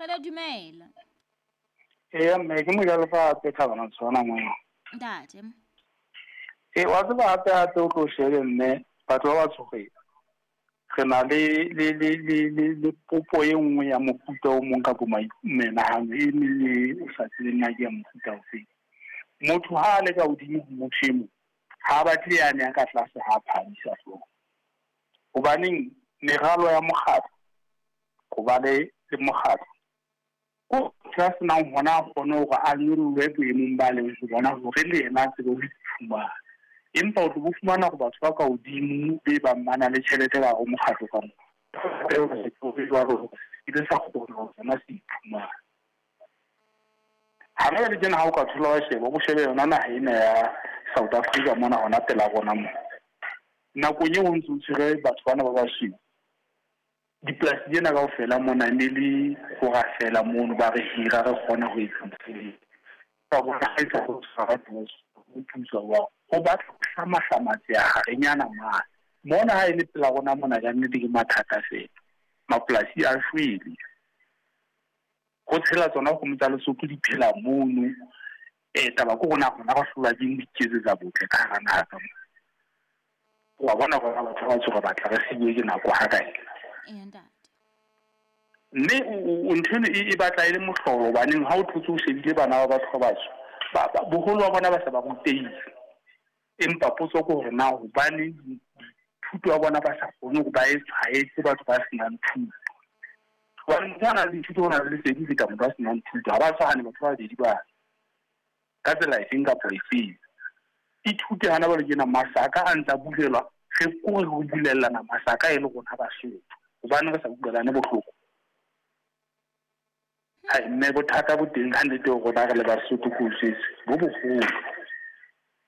Kgele dumela. Eya mme ke mojalefa hape Thabana Tshwana mona. Ntate. E wa tseba hape hape o tlo shebe mme batho ba batsho re re na le le le le le le popo e nngwe ya mofuta o mong kapo menahano e meng e o sa tsebeng na ke ya mofuta ofeng. Motho ha a le ka hodimo ho motho e mong ha a batle yane ya ka tlase ha a phahamisa hlooho. Hobaneng meralo ya mokgatlo ho ba le le mokgatlo ko motho ya senang hona a kgone hore a nyollwe boemong ba leng ho bona hore le yena a tsebe ho iphumana. Empa o tlo bo fumana hore batho ba ka hodimo be bang ba na le tjhelete ka hare ho mokgatlo ka moo. Jwalo ile sa kgona hore sona se iphumane. Hana jwale tjena ha o ka thola wa sheba, o shebe yona naha ena ya South Africa mona hona pela rona mona. Nakong eo o ntso o tshwere batho bana ba basweu, dipolasi tsena kaofela mona ne le hora fela mono ba re hira re kgona ho etsa mosebetsi. Ka bona ha etsa ho tshwara ho thusa wa ho batla ho hlamahlamatseha harenyana mane. Mona ha e le pela rona mona ka nnete ke mathata fela. Mapolasi a shwele. Ho tshela tsona kgomo tsa Lesotho di phela mono. Taba ke rona rona re hlolwa ke ho iketsetsa botle ka hara naha ka mona. Wa bona rona batho ba batsho re batla re siuwe ke nako ha kae. Eya ntate. Mme ntho eno e batla e le mohlolo hobaneng ha o thotse o shebile bana ba batho ba batsho boholo ba bona ba se ba rutehile. Empa potso ke hore na hobaneng thuto ya bona ba sa kgone hore ba e tshwaetse batho ba senang thuto. Hobane motho a nang le thuto o na le lesedi ho feta motho a senang thuto. Ha ba tshwane batho ba babedi bana. Ka tsela efeng kapa efeng. Ithute hana jwale tjena masaka a ntsa bulelwa re kore re bulellana masaka e le rona Basotho. Hobane re sa utlwelane bohloko. Hai mme bothata bo teng ka nnete ho rona re le Basotho ko jwetse bo boholo.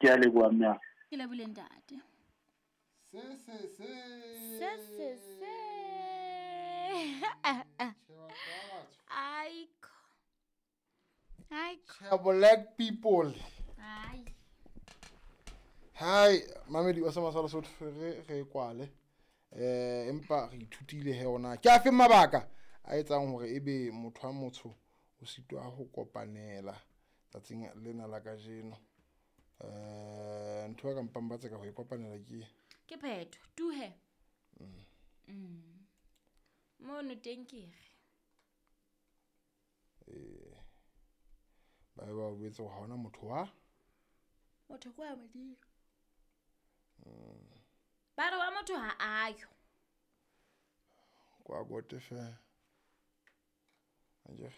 Ke a leboha mme. Ke lebohile ntate. Se se se. Se se se. Aiko. Aiko. Black people. Ai. Hai, mamedi wa sama sa Lesotho re re kwale. Empa re ithutile he ona. Ke afe mabaka a etsang hore ebe motho wa motsho o sitwa ho kopanela tsatsing lena la kajeno. Ntho ya ka mpang ba tseka ho e kopanela ke ke phetho tuhe. Mono teng ke re. Ba ba boetse ha hona motho wa motho kwa modimo. Ba re wa motho ha ayo. Kwa gote fe. Anje.